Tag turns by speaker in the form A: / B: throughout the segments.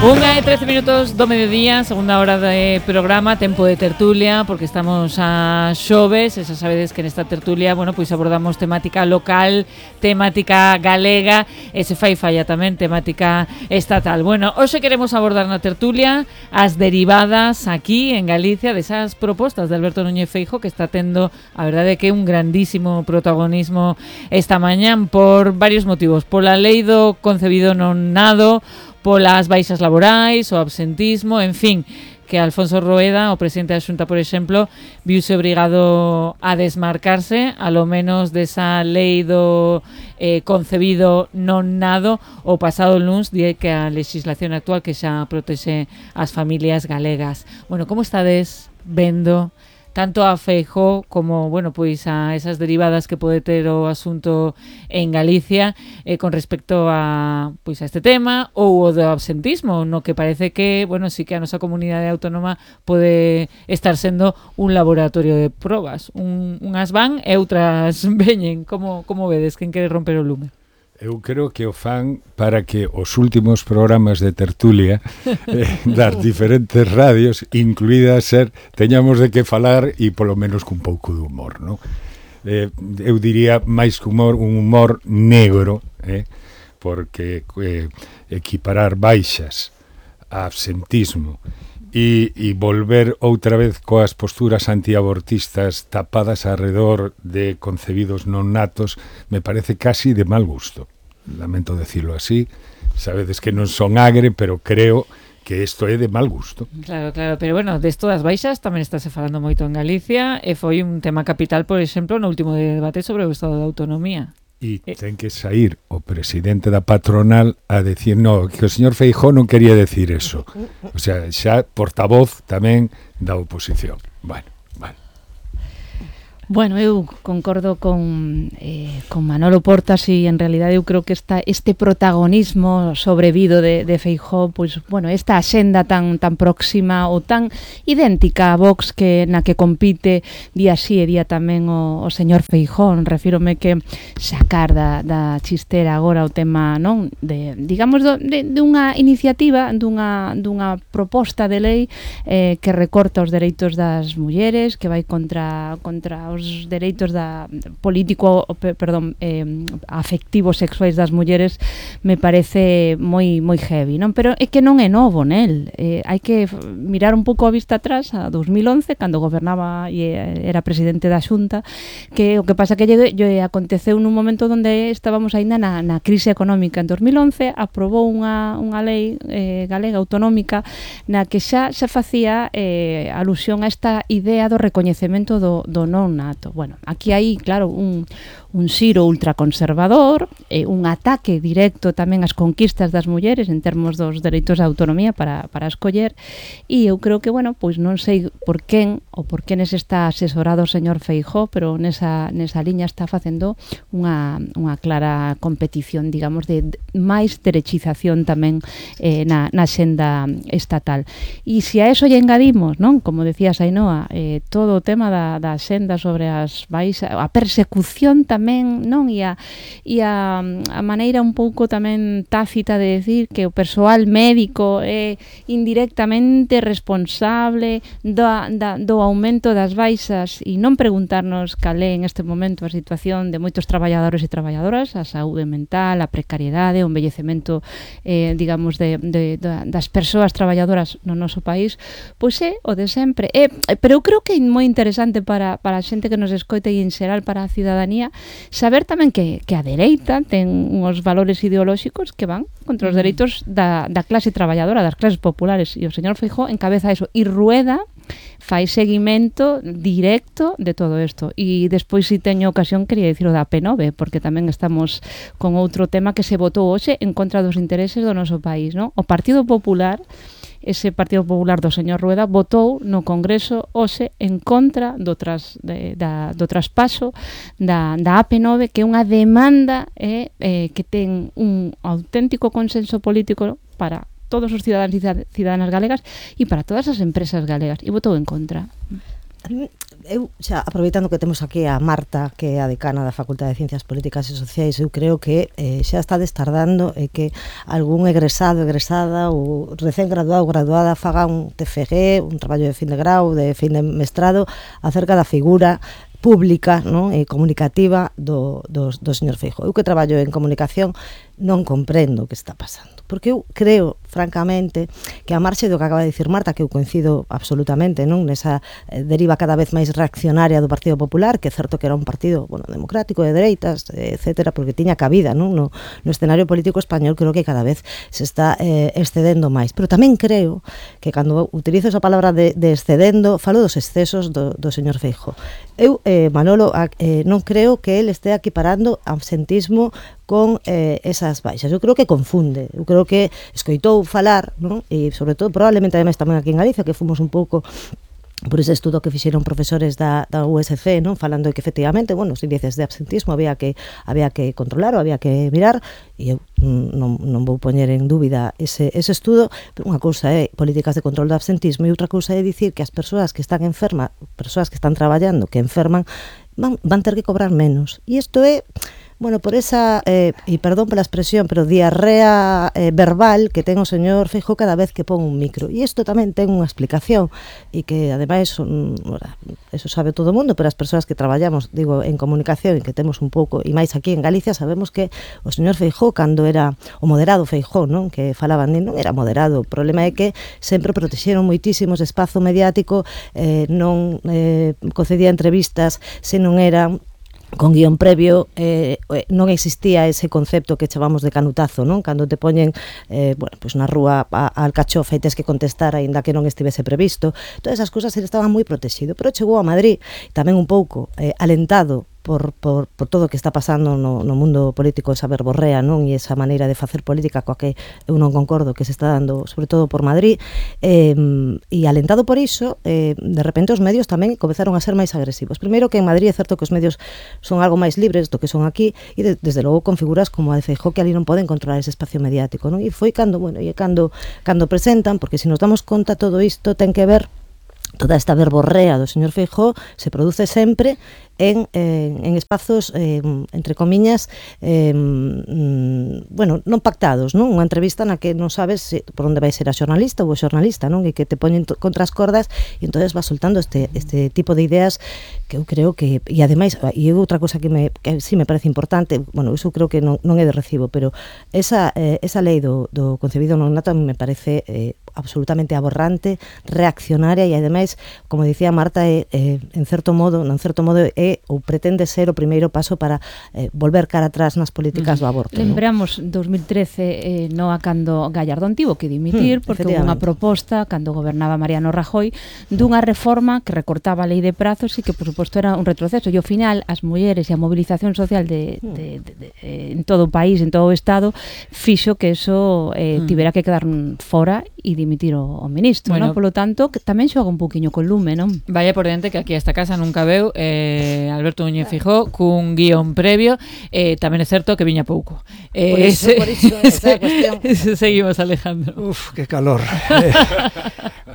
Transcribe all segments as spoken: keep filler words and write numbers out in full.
A: Unha e trece minutos do mediodía, segunda hora de programa, tempo de tertulia, porque estamos a xoves, e xa sabedes que nesta tertulia, bueno, pois abordamos temática local, temática galega, e se fai falla tamén temática estatal. Bueno, hoxe queremos abordar na tertulia as derivadas aquí en Galicia desas propostas de Alberto Núñez Feijóo, que está tendo, a verdade, que un grandísimo protagonismo esta mañán por varios motivos. Pola lei do concebido non nado, polas baixas laborais, o absentismo, en fin, que Alfonso Rueda, o presidente da Xunta, por exemplo, viuse obrigado a desmarcarse, a lo menos desa lei do eh, concebido non nado, o pasado luns, di que a legislación actual que xa protexe as familias galegas. Bueno, como estades vendo tanto a Feijóo como, bueno, pois a esas derivadas que pode ter o asunto en Galicia eh, con respecto a pois a este tema ou o do absentismo, no que parece que, bueno, sí que a nosa comunidade autónoma pode estar sendo un laboratorio de probas. Un, unhas van e outras veñen. Como, como vedes? Quen quere romper o lume?
B: Eu creo que o fan para que os últimos programas de tertulia eh, das diferentes radios, incluída ser, teñamos de que falar e polo menos cun pouco de humor, non? Eh, eu diría máis que humor, un humor negro, eh? Porque eh, equiparar baixas a absentismo e, e volver outra vez coas posturas antiabortistas tapadas alrededor de concebidos non natos me parece casi de mal gusto. Lamento decirlo así, sabedes que non son agre, pero creo que isto é de mal gusto.
A: Claro, claro, pero bueno, desto das baixas tamén estáse falando moito en Galicia e foi un tema capital, por exemplo, no último debate sobre o Estado de Autonomía.
B: E ten que sair o presidente da patronal a decir, no, que o señor Feijóo non quería decir eso. O sea, xa portavoz tamén da oposición. Bueno, bueno.
C: Bueno, eu concordo con, eh, con Manolo Portas e en realidade eu creo que esta, este protagonismo sobrevido de, de Feijóo, pois, bueno, esta axenda tan tan próxima ou tan idéntica a Vox que na que compite día sí e día tamén o, o señor Feijóo. Refírome que sacar da, da chistera agora o tema, non, de, digamos, do, de, de unha iniciativa, dunha, dunha proposta de lei eh, que recorta os dereitos das mulleres, que vai contra contra os os dereitos da político, perdón, eh, afectivos sexuais das mulleres, me parece moi moi heavy, non? Pero é que non é novo nel. Eh, hai que mirar un pouco a vista atrás a dos mil once, cando gobernaba e era presidente da Xunta, que o que pasa que lle, lle aconteceu nun momento onde estábamos aínda na, na crise económica. En dos mil once aprobou unha, unha lei eh, galega autonómica na que xa se facía eh, alusión a esta idea do recoñecemento do, do non nato. Bueno, aquí hai, claro, un, un xiro ultraconservador, eh, un ataque directo tamén ás conquistas das mulleres en termos dos dereitos de autonomía para, para escoller, e eu creo que, bueno, pois non sei por quen ou por quenes está asesorado o señor Feijóo, pero nesa, nesa liña está facendo unha, unha clara competición, digamos, de máis derechización tamén eh, na, na xenda estatal. E se a eso lle engadimos, non, como decía Sainoa, eh, todo o tema da, da xenda sobre as baixas, a persecución tamén, non, e a, e a, a maneira un pouco tamén tácita de decir que o persoal médico é indirectamente responsable do, da, do aumento das baixas e non preguntarnos cal é en este momento a situación de moitos traballadores e traballadoras, a saúde mental, a precariedade, o envellecemento eh, digamos de, de, de, das persoas traballadoras no noso país, pois é o de sempre. É, pero eu creo que é moi interesante para, para a xente que nos escoita e en xeral para a cidadanía saber tamén que, que a dereita ten uns valores ideolóxicos que van contra os dereitos da, da clase traballadora, das clases populares, e o señor Feijóo encabeza eso, e Rueda fai seguimento directo de todo isto. E despois, se teño ocasión, quería dicir o da P nove, porque tamén estamos con outro tema que se votou hoxe en contra dos intereses do noso país, non? O Partido Popular, ese Partido Popular do señor Rueda, votou no Congreso hoxe en contra do, tras, de, da, do traspaso da, da A P nove, que é unha demanda eh, eh, que ten un auténtico consenso político para todos os cidadáns e cidadanas galegas e para todas as empresas galegas, e votou en contra.
D: Eu, xa, aproveitando que temos aquí a Marta, que é a decana da Facultade de Ciencias Políticas e Sociais, eu creo que eh, xa está destardando e que algún egresado, egresada ou recén graduado, graduada faga un T F G, un traballo de fin de grau, de fin de mestrado, acerca da figura pública, non, e comunicativa do, do, do señor Feijóo. Eu que traballo en comunicación non comprendo o que está pasando, porque eu creo, francamente, que a marxe do que acaba de dicir Marta, que eu coincido absolutamente, non, nesa eh, deriva cada vez máis reaccionaria do Partido Popular, que é certo que era un partido, bueno, democrático, de dereitas, etcétera, porque tiña cabida, non, no, no escenario político español, creo que cada vez se está eh, excedendo máis, pero tamén creo que cando utilizo esa palabra de, de excedendo, falo dos excesos do, do señor Feijóo. Eu, eh, Manolo, eh, non creo que ele este equiparando absentismo con eh, esas baixas. Eu creo que confunde, eu creo que escoitou falar, non? E sobre todo, probablemente ademais tamén aquí en Galicia, que fomos un pouco por ese estudo que fixeron profesores da, da U S C, non, falando de que efectivamente, bueno, os índices de absentismo había que había que controlar ou había que mirar, e eu non, non vou poñer en dúbida ese, ese estudo, pero unha cousa é políticas de control do absentismo e outra cousa é dicir que as persoas que están enfermas, persoas que están traballando, que enferman, van, van ter que cobrar menos. E isto é, bueno, por esa, eh, e perdón pola expresión, pero diarrea eh, verbal que ten o señor Feijóo cada vez que pon un micro. E isto tamén ten unha explicación, e que ademais, son, eso sabe todo o mundo, pero as persoas que traballamos, digo, en comunicación, e que temos un pouco, e máis aquí en Galicia, sabemos que o señor Feijóo, cando era o moderado Feijóo, non, que falaban, non era moderado, o problema é que sempre protexeron moitísimos espazo mediático, eh, non eh, concedía entrevistas se non eran con guión previo, eh, non existía ese concepto que chamamos de canutazo, non? Cando te poñen eh, bueno, pues na rúa a, a alcachofa e tes que contestar aínda que non estivese previsto. Todas esas cousas ele estaba moi protegido, pero chegou a Madrid tamén un pouco eh, alentado por, por, por todo o que está pasando no, no mundo político, esa verborrea, non? E esa maneira de facer política coa que eu non concordo que se está dando, sobre todo por Madrid, eh, e alentado por iso, eh, de repente os medios tamén comezaron a ser máis agresivos. Primeiro que en Madrid é certo que os medios son algo máis libres do que son aquí, e de, desde logo con figuras como a de Feijóo, que ali non poden controlar ese espacio mediático, non? E foi cando, bueno, e cando, cando presentan, porque se nos damos conta todo isto ten que ver, toda esta verborrea do señor Feijóo se produce sempre en, eh, en espazos, eh, entre comiñas, eh, mm, bueno, non pactados, non? Unha entrevista na que non sabes se, por onde vai ser a xornalista ou o xornalista, non? E que te poñen contra as cordas e entonces vas soltando este, este tipo de ideas que eu creo que, e ademais, e outra cosa que, me, que sí me parece importante, bueno, iso creo que non, non é de recibo, pero esa, eh, esa lei do, do concebido non nato me parece eh, absolutamente aborrante, reaccionaria e ademais, como dicía Marta, é, é, en certo modo, en certo modo é ou pretende ser o primeiro paso para eh, volver cara atrás nas políticas do aborto.
C: Lembramos, ¿no? dos mil trece, eh, no a cando Gallardón tivo que dimitir, hmm, porque houve unha proposta, cando gobernaba Mariano Rajoy, dunha reforma que recortaba a lei de prazos e que, por suposto, era un retroceso. E ao final, as mulleres e a movilización social de, de, de, de, de, en todo o país, en todo o Estado, fixo que eso eh, hmm. tivera que quedar fora e dimitir o, o ministro, bueno, ¿no? Polo tanto, que tamén xoga un poquinho con lume, non?
A: Vaya por diante que aquí a esta casa nunca veu eh, Alberto Núñez Feijóo cun guión previo, eh, tamén é certo que viña pouco. Eh,
D: por iso, por iso, esa cuestión.
A: Seguimos, Alejandro.
E: Uf, qué calor. Eh,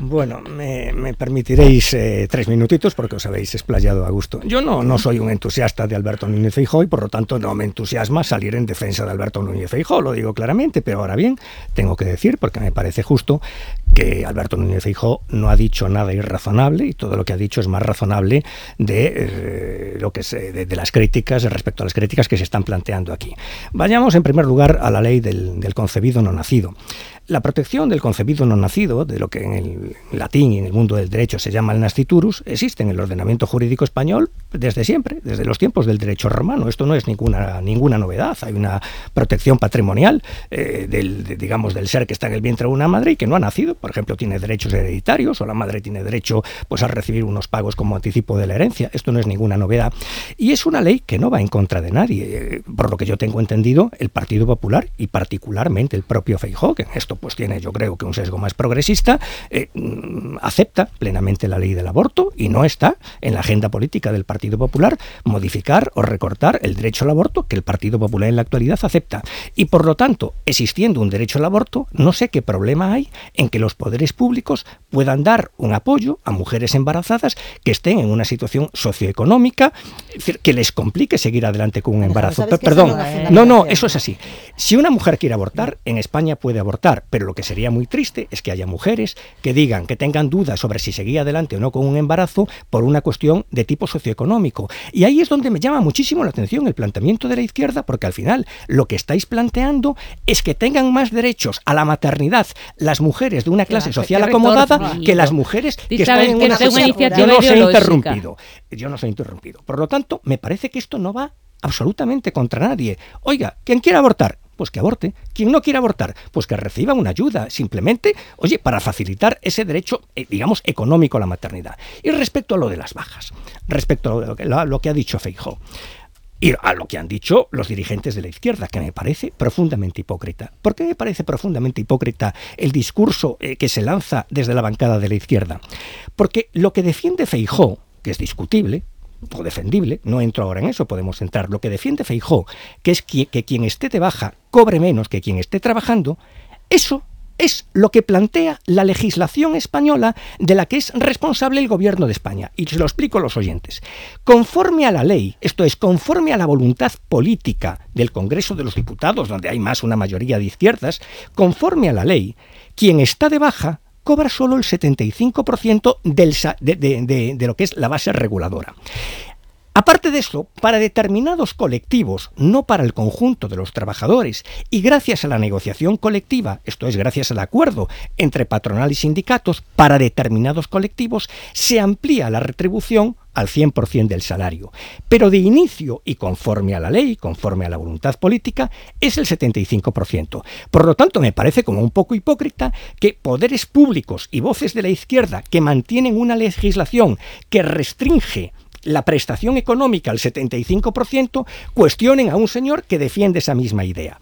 E: bueno, me, me permitiréis eh, tres minutitos porque os habéis explayado a gusto. Yo no, no soy un entusiasta de Alberto Núñez Feijóo y por lo tanto no me entusiasma salir en defensa de Alberto Núñez Feijóo, lo digo claramente, pero ahora bien, tengo que decir, porque me parece justo, que Alberto Núñez Feijóo no ha dicho nada irrazonable y todo lo que ha dicho es más razonable de eh, lo que es, de, de las críticas, respecto a las críticas que se están planteando aquí. Vayamos en primer lugar a la ley del, del concebido no nacido. La protección del concebido no nacido, de lo que en el latín y en el mundo del derecho se llama el nasciturus, existe en el ordenamiento jurídico español desde siempre, desde los tiempos del derecho romano. Esto no es ninguna, ninguna novedad. Hay una protección patrimonial eh, del, de, digamos, del ser que está en el vientre de una madre y que no ha nacido. Por ejemplo, tiene derechos hereditarios o la madre tiene derecho pues, a recibir unos pagos como anticipo de la herencia. Esto no es ninguna novedad. Y es una ley que no va en contra de nadie. Por lo que yo tengo entendido, el Partido Popular y particularmente el propio Feijóo, que en esto pues tiene yo creo que un sesgo más progresista, eh, acepta plenamente la ley del aborto y no está en la agenda política del Partido Popular modificar o recortar el derecho al aborto que el Partido Popular en la actualidad acepta. Y por lo tanto, existiendo un derecho al aborto, no sé qué problema hay en que los poderes públicos puedan dar un apoyo a mujeres embarazadas que estén en una situación socioeconómica, es decir, que les complique seguir adelante con un embarazo. Perdón, no, no, eso es así. Si una mujer quiere abortar, en España puede abortar, pero lo que sería muy triste es que haya mujeres que digan, que tengan dudas sobre si seguir adelante o no con un embarazo por una cuestión de tipo socioeconómico. Y ahí es donde me llama muchísimo la atención el planteamiento de la izquierda, porque al final lo que estáis planteando es que tengan más derechos a la maternidad las mujeres de una clase social acomodada que las mujeres que están en una situación. Yo no soy interrumpido. Yo no soy interrumpido. Por lo tanto, me parece que esto no va absolutamente contra nadie. Oiga, quien quiera abortar, pues que aborte. Quien no quiera abortar, pues que reciba una ayuda, simplemente, oye, para facilitar ese derecho, eh, digamos, económico a la maternidad. Y respecto a lo de las bajas, respecto a lo que, a lo que ha dicho Feijóo, y a lo que han dicho los dirigentes de la izquierda, que me parece profundamente hipócrita. ¿Por qué me parece profundamente hipócrita el discurso eh, que se lanza desde la bancada de la izquierda? Porque lo que defiende Feijóo, que es discutible, o defendible, no entro ahora en eso, podemos entrar, lo que defiende Feijóo, que es que, que quien esté de baja cobre menos que quien esté trabajando, eso es lo que plantea la legislación española de la que es responsable el gobierno de España. Y se lo explico a los oyentes. Conforme a la ley, esto es, conforme a la voluntad política del Congreso de los Diputados, donde hay más una mayoría de izquierdas, conforme a la ley, quien está de baja cobra solo el setenta y cinco por ciento del, de, de, de, de lo que es la base reguladora. Aparte de eso, para determinados colectivos, no para el conjunto de los trabajadores, y gracias a la negociación colectiva, esto es, gracias al acuerdo entre patronal y sindicatos, para determinados colectivos se amplía la retribución al cien por ciento del salario. Pero de inicio, y conforme a la ley, conforme a la voluntad política, es el setenta y cinco por ciento. Por lo tanto, me parece como un poco hipócrita que poderes públicos y voces de la izquierda que mantienen una legislación que restringe la prestación económica al setenta y cinco por ciento, cuestionen a un señor que defiende esa misma idea.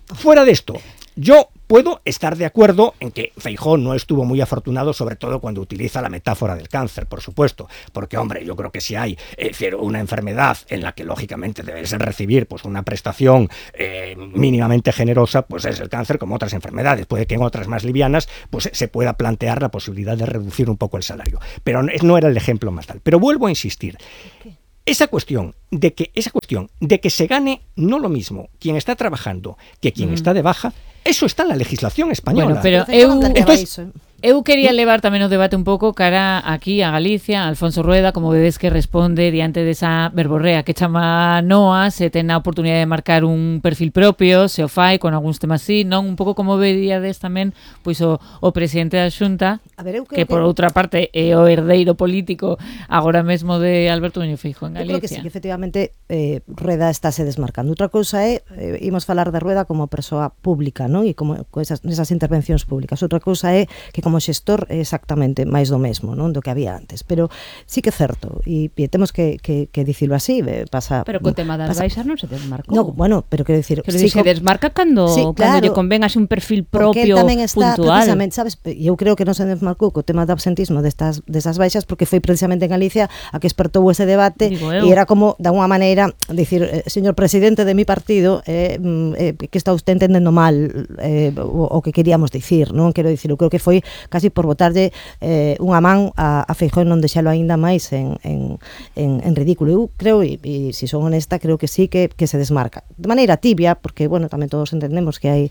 E: Fuera de esto, yo puedo estar de acuerdo en que Feijóo no estuvo muy afortunado, sobre todo cuando utiliza la metáfora del cáncer, por supuesto, porque, hombre, yo creo que si hay eh, una enfermedad en la que, lógicamente, debes recibir pues una prestación eh, mínimamente generosa, pues es el cáncer, como otras enfermedades. Puede que en otras más livianas pues se pueda plantear la posibilidad de reducir un poco el salario, pero no era el ejemplo más tal. Pero vuelvo a insistir. ¿Qué? Esa cuestión de que esa cuestión de que se gane no lo mismo quien está trabajando que quien mm. está de baja, eso está en la legislación española.
A: Bueno, pero eu, entonces, eu quería levar tamén o debate un pouco cara aquí a Galicia, a Alfonso Rueda, como vedes que responde diante desa verborrea que chama Noa, se ten a oportunidade de marcar un perfil propio, se o fai con algúns temas así, non? Un pouco como veríades tamén pois o, o presidente da Xunta, a ver, que, que por outra parte é o herdeiro político agora mesmo de Alberto Núñez Feijóo en Galicia.
D: Eu creo que sí, que efectivamente eh, Rueda estáse desmarcando. Outra cousa é, eh, imos falar de Rueda como persoa pública, non? E como esas, esas intervencións públicas. Outra cousa é que como xestor é exactamente máis do mesmo, non? Do que había antes. Pero sí que é certo, e, e temos que, que, que dicilo así, pasa...
C: Pero co tema das pasa, baixas non se desmarcou.
D: No, bueno, pero quero dicir...
C: Quero sí, dicir, se desmarca cando, sí, claro, cando lle convenga un perfil propio,
D: tamén está,
C: puntual.
D: Precisamente, sabes, eu creo que non se desmarcou co tema do absentismo destas, desas baixas, porque foi precisamente en Galicia a que espertou ese debate, e era como, de alguma maneira, dicir, eh, señor presidente de mi partido, eh, eh, que está usted entendendo mal eh, o, o que queríamos dicir, non? Quero dicir, eu creo que foi casi por botarlle eh, unha man a, a Feijóo, non deixalo aínda máis en, en, en, en ridículo. Eu creo, e, e se son honesta, creo que sí que, que se desmarca. De maneira tibia, porque, bueno, tamén todos entendemos que hai,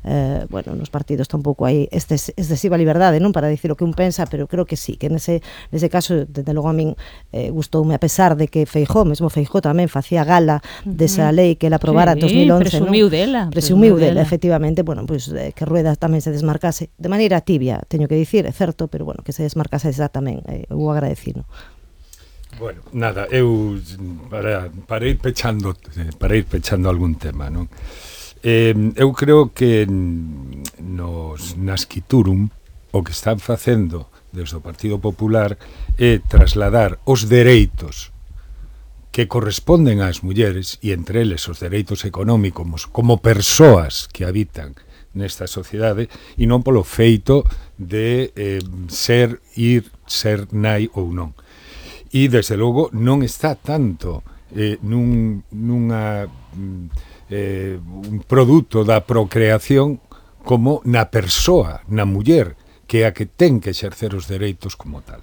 D: eh, bueno, nos partidos tampouco hai este, excesiva liberdade, non? Para dicir o que un pensa, pero creo que sí, que nese, nese caso, desde logo a min eh, gustoume, a pesar de que Feijóo, mesmo Feijóo tamén facía gala desa lei que ela aprobara en dos mil once,
C: presumiu
D: non?
C: dela.
D: Presumiu dela, efectivamente, bueno, pues eh, que Rueda tamén se desmarcase de maneira tibia, teño que dicir, é certo, pero bueno, que se desmarcase esa tamén, eh, eu agradecino.
B: Bueno, nada, eu para, para ir pechando para ir pechando algún tema, non? Eh, eu creo que nos Nasquiturum o que están facendo desde o Partido Popular é trasladar os dereitos que corresponden ás mulleres, e entre eles os dereitos económicos como persoas que habitan nesta sociedade e non polo feito de eh, ser, ir, ser nai ou non. E, desde logo, non está tanto eh, nun, nunha, eh, un produto da procreación como na persoa, na muller, que é a que ten que exercer os dereitos como tal.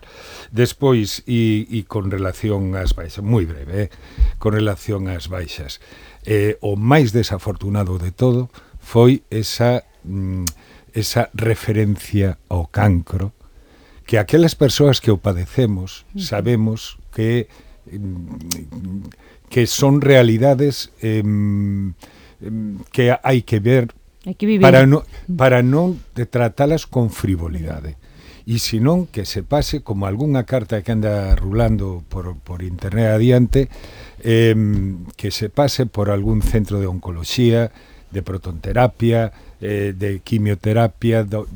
B: Despois, e, e con relación ás baixas, moi breve, eh, con relación ás baixas, eh, o máis desafortunado de todo foi esa, mm, esa referencia ao cancro, que aquelas persoas que o padecemos sabemos que que son realidades eh, que hai que ver
C: que
B: para, no, para non tratalas con frivolidade. E senón que se pase como algunha carta que anda rulando por, por internet adiante, eh, que se pase por algún centro de oncoloxía, de protonterapia, eh, de quimioterapia, do,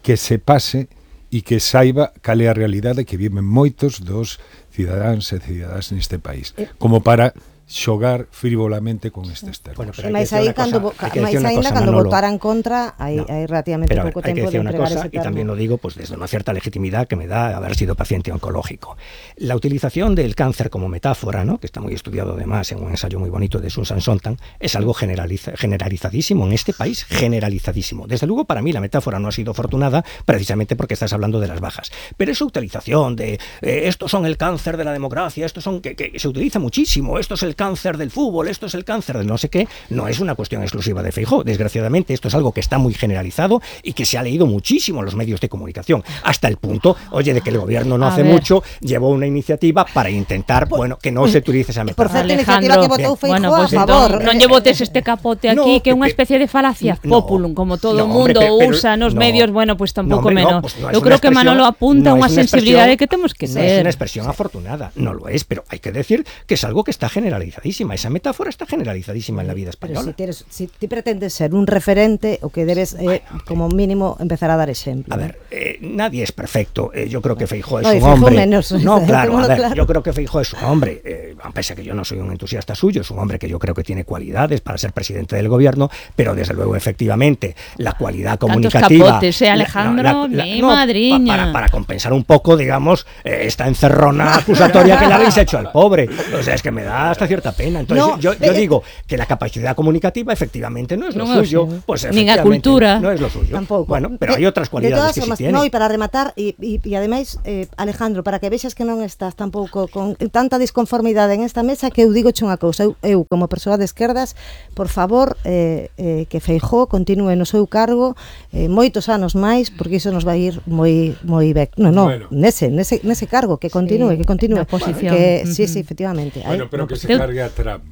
B: que se pase e que saiba cal é a realidade que viven moitos dos cidadáns e cidadás neste país, como para xogar frivolamente con estes termos.
D: Bueno, pero máis aí cando máis aínda cando votaran contra, hai no, hai relativamente pouco tempo de entregar ese termo.
E: Y también lo digo pues desde una cierta legitimidad que me da haber sido paciente oncológico. La utilización del cáncer como metáfora, ¿no?, que está muy estudiado además en un ensayo muy bonito de Susan Sontag, es algo generaliza, generalizadísimo en este país, generalizadísimo. Desde luego para mí la metáfora no ha sido afortunada precisamente porque estás hablando de las bajas. Pero esa utilización de eh, estos son el cáncer de la democracia, estos son que, que se utiliza muchísimo, esto es el cáncer del fútbol, esto es el cáncer del no sé qué, no es una cuestión exclusiva de Feijóo. Desgraciadamente esto es algo que está muy generalizado y que se ha leído muchísimo en los medios de comunicación, hasta el punto, oye, de que el gobierno no a hace ver. mucho llevó una iniciativa para intentar, por, bueno, que no se utilice esa metáfora.
D: Por certo, iniciativa que votou Feijóo
C: bueno, pues
D: a favor.
C: Non lle botes este capote aquí, no, que é unha especie de falacia no, populum, como todo o no, mundo hombre, pero, usa nos no, medios, bueno, pues tampouco no, menos. No, pues no Eu creo que Manolo apunta no unha sensibilidade que temos que
E: no
C: ter.
E: Es una expresión afortunada, no lo es, pero hay que decir que es algo que está generalizadísima. Esa metáfora está generalizadísima en la vida española.
D: Pero si, tienes, si ti pretendes ser un referente, o que debes, eh, bueno, como mínimo, empezar a dar ejemplo.
E: A ver, eh, nadie es perfecto. Eh, yo creo que Feijóo es
D: no,
E: un
D: Feijóo
E: hombre.
D: Menos.
E: No, claro, a ver, claro. Yo creo que Feijóo es un hombre, eh, pese a que yo no soy un entusiasta suyo, es un hombre que yo creo que tiene cualidades para ser presidente del gobierno, pero desde luego, efectivamente, la cualidad comunicativa.
C: Tantos capotes, eh, Alejandro,
E: la, la, la,
C: mi
E: no,
C: madriña.
E: Pa, para, para compensar un poco, digamos, eh, esta encerrona acusatoria que le habéis hecho al pobre. O sea, es que me da hasta cierta pena. Entonces, no, yo, yo digo que la capacidad comunicativa efectivamente no es lo no suyo, sé. Pues
C: ni la cultura
E: no es lo suyo.
D: Tampoco.
E: Bueno, pero hay otras cualidades que
D: formas,
E: sí tiene.
D: No, y para rematar e e e ademais eh, Alejandro, para que vexas que non estás tampouco con tanta disconformidade en esta mesa, que eu digo che unha cousa, eu, eu como persoa de esquerdas, por favor, eh, eh, que Feijóo continúe no seu cargo eh, moitos anos máis, porque iso nos vai ir moi moi bec. No, no, bueno. nese, nese nese cargo que continúe, sí, que continúe,
C: posición.
D: Que
C: uh-huh.
D: sí, sí, efectivamente.
B: Bueno,
D: Ay,
B: pero
D: no,
B: que se cargue a Trump.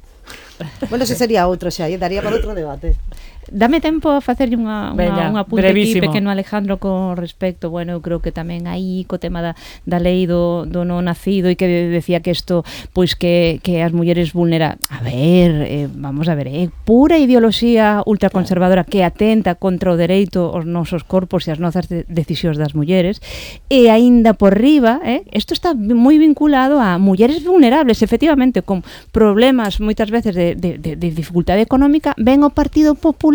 D: Bueno, ese sería outro xa, daría para outro debate.
C: Dame tempo a facerlle unha,
A: Veña,
C: unha, unha punta aquí
A: brevísimo.
C: pequeno Alejandro con respecto, bueno, eu creo que tamén aí co tema da, da lei do, do non nacido e que decía que isto, pois que, que as mulleres vulnera, a ver, eh, vamos a ver, é eh, pura ideoloxía ultraconservadora que atenta contra o dereito aos nosos corpos e as nosas de, decisións das mulleres, e aínda por riba, eh, isto está moi vinculado a mulleres vulnerables, efectivamente, con problemas moitas veces de, de, de, de dificultade económica, ven o Partido Popular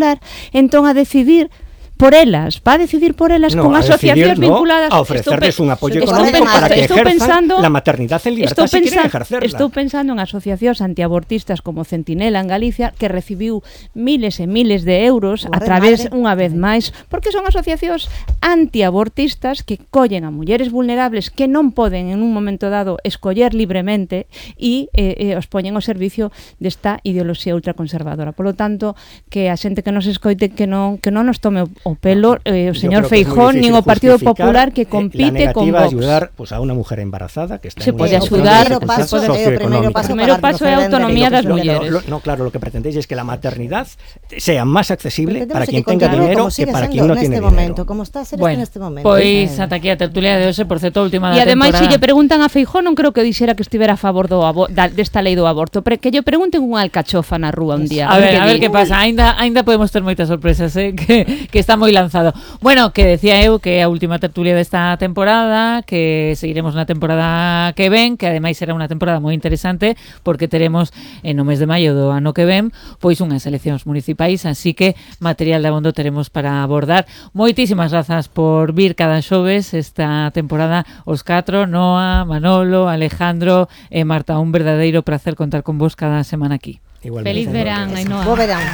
C: entón a decidir por elas, va a decidir por elas no, con asociacións
E: decidir,
C: vinculadas
E: no, a ofrecerles un apoyo económico
C: estou,
E: para que
C: estou
E: ejerzan
C: pensando,
E: la maternidad en libertad si quieren ejercerla.
C: Estou pensando en asociacións antiabortistas como Centinela en Galicia, que recibiu miles e miles de euros a través, unha vez máis, porque son asociacións antiabortistas que collen a mulleres vulnerables que non poden en un momento dado escoller libremente e eh, eh, os poñen ao servicio desta ideoloxía ultraconservadora. Por lo tanto, que a xente que nos escoite que non, que non nos tome o pelo eh, o señor Feijóo nin o Partido Popular que compite con Vox.
E: La negativa a ayudar pues, a unha mujer embarazada que está
C: se
E: en
C: pode
E: ayudar.
D: O primeiro paso,
C: o primeiro paso é a autonomía das mulleres.
E: Lo, no, claro, lo que pretendéis es que la maternidad sea más accesible para quien
D: que
E: tenga dinero que para quien no tiene dinero.
D: Momento, como está a ser
A: bueno,
D: este momento.
A: Pois ata aquí a tertulia de hoxe, por certo, última da
C: temporada. E ademais, se lle preguntan a Feijóo, non creo que dixera que estivera a favor do abo- da, desta lei do aborto, pero que lle pregunten unha alcachofa na rúa un día.
A: A ver, a ver que pasa, aínda aínda podemos ter moitas sorpresas, eh, que, que estamos está moi lanzado. Bueno, que decía eu que é a última tertulia desta temporada, que seguiremos na temporada que ven, que ademais será unha temporada moi interesante porque teremos en o mes de maio do ano que ven pois unhas eleccións municipais, así que material de abondo teremos para abordar. Moitísimas grazas por vir cada xoves esta temporada os catro, Noa, Manolo, Alejandro e Marta, un verdadeiro placer contar con vos cada semana aquí.
C: Igualmente. Feliz verán, Ainhoa.
D: Bo verán.